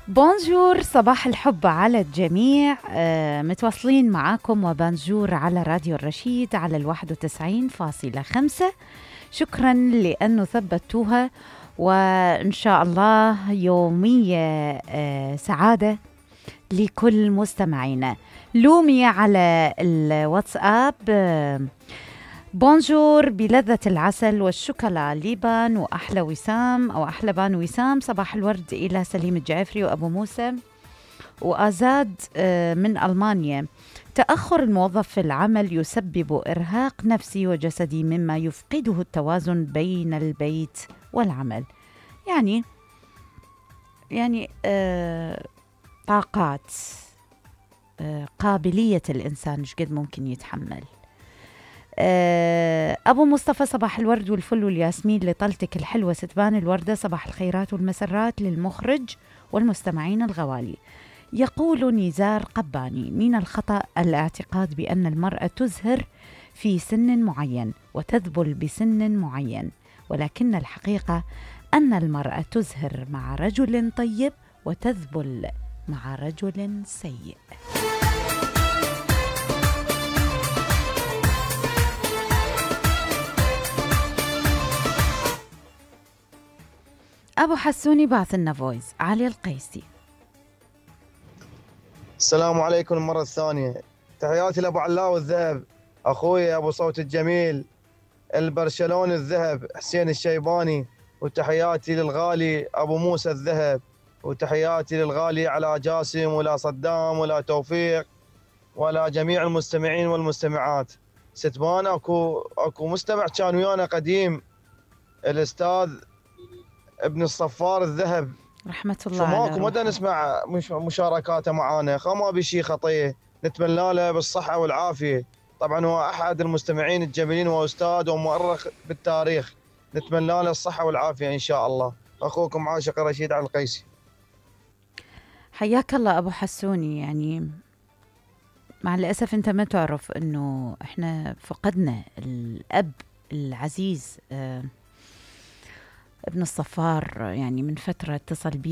بونجور، صباح الحب على الجميع. متواصلين معاكم وبونجور على راديو الرشيد على 91.5. شكرا لأنه ثبتوها، وإن شاء الله يومية سعادة لكل مستمعينا. لومي على الواتساب بونجور بلذة العسل والشوكولا ليبان وأحلى وسام أو أحلى بان وسام. صباح الورد إلى سليم الجعفري وأبو موسى وآزاد من ألمانيا. تأخر الموظف في العمل يسبب إرهاق نفسي وجسدي مما يفقده التوازن بين البيت والعمل. يعني طاقات، قابلية الإنسان إيش قد ممكن يتحمل. أبو مصطفى، صباح الورد والفل والياسمين لطلتك الحلوة ستبان الوردة. صباح الخيرات والمسرات للمخرج والمستمعين الغوالي. يقول نزار قباني: من الخطأ الاعتقاد بأن المرأة تزهر في سن معين وتذبل بسن معين، ولكن الحقيقة أن المرأة تزهر مع رجل طيب وتذبل مع رجل سيء. أبو حسوني بعث لنا فويس. علي القيسي: السلام عليكم المرة الثانية. تحياتي لأبو علاو الذهب، أخوي أبو صوت الجميل البرشلوني الذهب حسين الشيباني، وتحياتي للغالي أبو موسى الذهب، وتحياتي للغالي على جاسم ولا صدام ولا توفيق ولا جميع المستمعين والمستمعات. ستبان أكو مستمع كان ويانا قديم، الأستاذ ابن الصفار الذهب رحمة الله عليه. ماكو مدى نسمع مشاركاته معانا، ما بشي خطيه، نتمنى له بالصحة والعافية. طبعا هو أحد المستمعين الجميلين وأستاذ ومؤرخ بالتاريخ، نتمنى له الصحة والعافية إن شاء الله. أخوكم عاشق رشيد على القيسي. حياك الله أبو حسوني. يعني مع الأسف أنت ما تعرف أنه إحنا فقدنا الأب العزيز ابن الصفار، يعني من فترة اتصل بي